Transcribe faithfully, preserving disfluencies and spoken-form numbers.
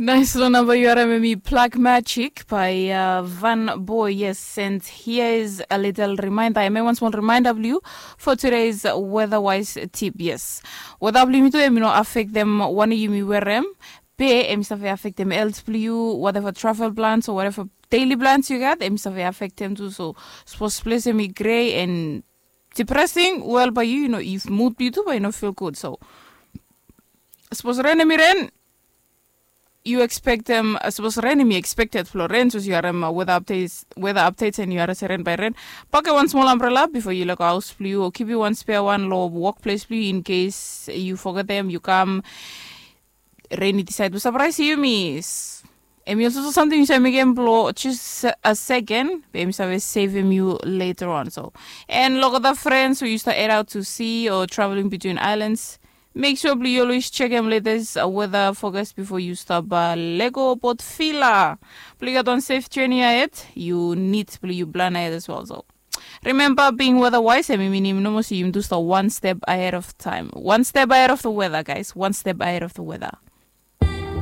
Nais long namba yu harim em i Plak Magic by uh, Van Boy. Yes, and here is a little reminder. Em i wan small reminder blong yu for today's weather wise tip. Yes, weather blong yumi tu em i no affect them one yumi wear em. Be em i save affect them else blong yu, whatever travel plans or whatever daily plans you got, em i save affect them too. So suppose place em i gray and depressing, well, by you, you know, if mood blong yu tu, by you know, feel good. So suppose rain em i rain, you expect them, uh, suppose rain em i expected for rain, so you are um, weather updates, weather updates, and you are rain by rain. Pack one small umbrella before you lego house blong yu, or keep you one spare one lo workplace blong yu in case you forget them, you come rain i decide to surprise you, miss. Em i also something you say mekem blo just a second, be em i save savem you later on. So, and look at the friends who used to head out to sea or traveling between islands. Make sure blong you always check em latest uh, weather forecast before you stop uh, lego bot fila. Blong you got on safe journey ahead, you need blong you plan ahead as well. So remember, being weather wise em i minim no mos yum tu stop one step ahead of time, one step ahead of the weather, guys, one step ahead of the weather.